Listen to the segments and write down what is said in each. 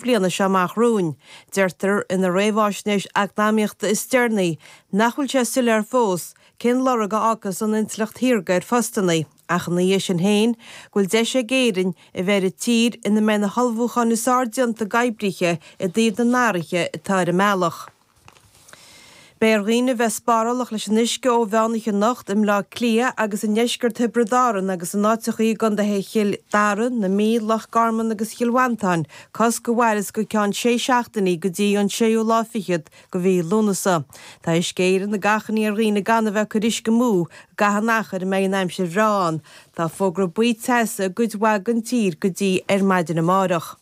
bhliana seo amach romhainn. Deirtear ina réamháisnéis eacnamaíochta is deireanaí nach bhfuil sé soiléir fós cén lorg a fhágfas an intleacht shaorga ar phostanna, ach ina dhiaidh sin féin, go bhfuil deis ag Éirinn a bheith ar an tír ina mbeidh na hullmhúcháin is fearr déanta ag oibrithe i dtaobh na n-athruithe atá ar an mbealach. Beidh ar dhaoine a bheith spárálach leis an uisce ó mheánoíche anocht i mBleá Cliath agus i ndeisceart Thiobraid Árann agus in áiteachaí i gcontaetha Chill Dara, na Mí, Loch Garman agus Chill Mhantáin, cosc a mhairfeas go ceann sé seachtainí go dtí an séú lá fichead de mhí Lúnasa. Tá Uisce Éireann ag achainí ar dhaoine gan a bheith ag cur uisce amú i gcaitheamh an achair a mbeidh an aimsir bhreá ann. Tá fógra buí teasa i gcuid mhaith den tír go dtí ar maidin amárach.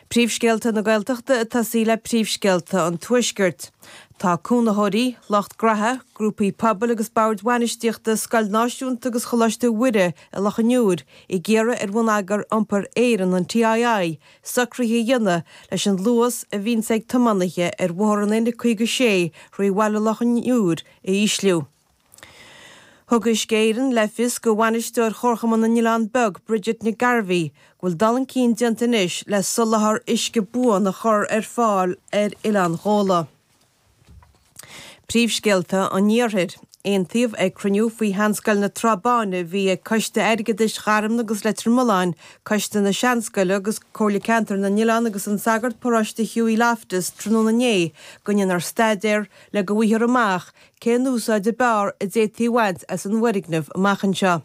Príomhscéalta na Gaeltachta ag tosaí le príomhscéalta an Tuaiscirt. Tá cónaitheoirí, lucht graithe, grúpaí pobail agus boird bhainistíochta Scoil Náisiúnta agus Choláiste Mhuire i Loch an Iúir ag iarraidh ar Bhonneagar Iompair Éireann, an TII, socruithe a dhéanamh leis an luas a bhíonns ag tiománaithe ar bhóthar an N56 thrí bhaile Loch an Iúir a ísliú. Thug Uisce Éireann le fios do bhainisteoir Chomharchumann na nOileán Beag, Bridget Nic Gairbhí, go bhfuil dul chun cinn déanta anois le soláthar uisce buan a chur ar fáil ar Oileán Ghabhla. Príomhscéalta an Iarthair. Aontaíodh ag cruinniú faoi Sheanscoil na Trá Báine a bhí ag Coiste Airgeadais Gharmna agus Leitir Mealláin, Coiste na Seanscoile agus Comhairle Ceantair na nOileán agus an Sagart Paróiste Hughie Loftus tráthnóna inné go ndéanfar staidéar le go bhfaighfear amach Cén úsáid ab fhearr a d'fhéadfaí a bhaint as an bhfoirgneamh amach anseo?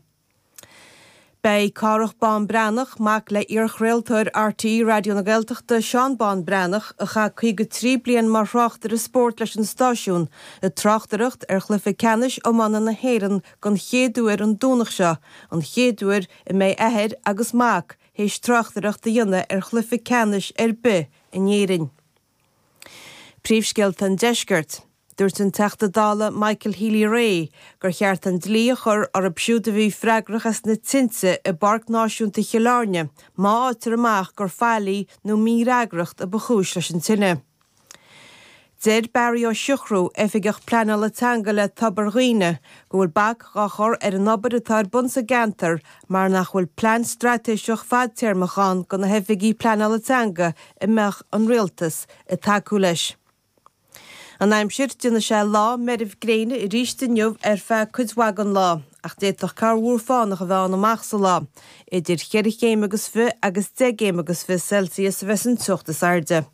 Beidh Cárthach Bán Breathnach, mac le iarchraoltóir RTÉ Raidió na Gaeltachta, Seán Bán Breathnach, a chaith 53 bliain mar thráchtaire spóirt leis an stáisiún, ag tráchtaireacht ar chluiche ceannais iomána na hÉireann den chéad uair an Domhnach seo, an chéad uair a mbeidh athair agus mac théis tráchtaireacht a dhéanamh ar chluiche ceannais ar bith in Éirinn. Príomhscéalta an Deiscirt. Dúirt an Teachta Dála Michael Healy-Rae gur cheart an dlí a chur orthu siúd a bhí freagrach as na tinte i bPáirc Náisiúnta Chill Airne má fhaightear amach gur faillí nó mífhreagracht a ba chúis leis an tine. Deir Barry Ó Siochrú, Oifigeach Pleanála Teanga le Tobar Dhuibhne, go bhfuil bac dhá chur ar an obair atá ar bun sa gceantar mar nach bhfuil plean straitéiseach fadtéarmach ann do na hoifigí pleanála teanga a mbeadh an Rialtas ag tacú leis. An aimsir, Déanfaidh sé lá meirbh gréine arís inniu ar feadh cuid mhaith den lá, ach d'fhéadfadh corrmhúr fánach a bheith ann amach sa lá. Idir cheithre chéim agus fi agus deich gcéim agus fi Celsius a bheas an teocht is airde.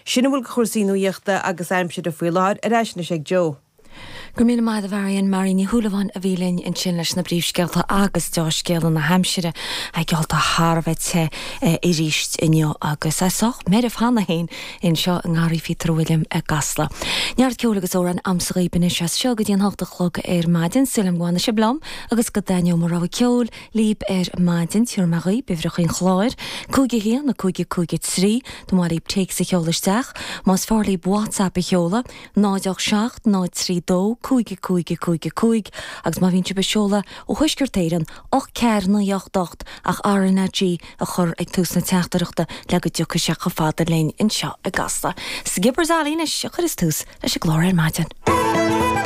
Sin a bhfuil de chúrsaí nuaíochta agus aimsire faoi láthair, ar ais anois ag Joe. Go raibh míle maith agat a Mharion. Marion Ní Shúilleabháin a bhí linn ansin leis na bpríomhscéalta agus deá-scéala na haimsire. Geallta thar a bheith te arís inniu agus é sách meirbh cheana féin anseo i nGarraí Phíotair Uilliam i gCasla. Neart ceoil agus amhráin a'msa dhaoib anois as seo go dtí an hocht a chlog ar maidin. Súil a'm go bhfanfaidh sibh liom agus go dtaitneoidh mo rogha ceoil líb ar maidin. Tabharfaidh mé dhaoib uimhreacha an chláir, 5 1 5 5 3 Dá mba mhaith líb téacs a sheoladh isteach. Más fearr líb WhatsApp a sheoladh, 0 8 7 0 3 2 5 5 5 5 agus má bhíonn sibh ag seoladh ó Thuaisceart Éireann, 8 4 9 8 8 ach RnaG a chur ag tús na teachtaireachta le go dtiocfaidh sé chomh fada linn anseo i gCasla. Skipper's Alley anois a chuireas tús leis an gclár ar maidin.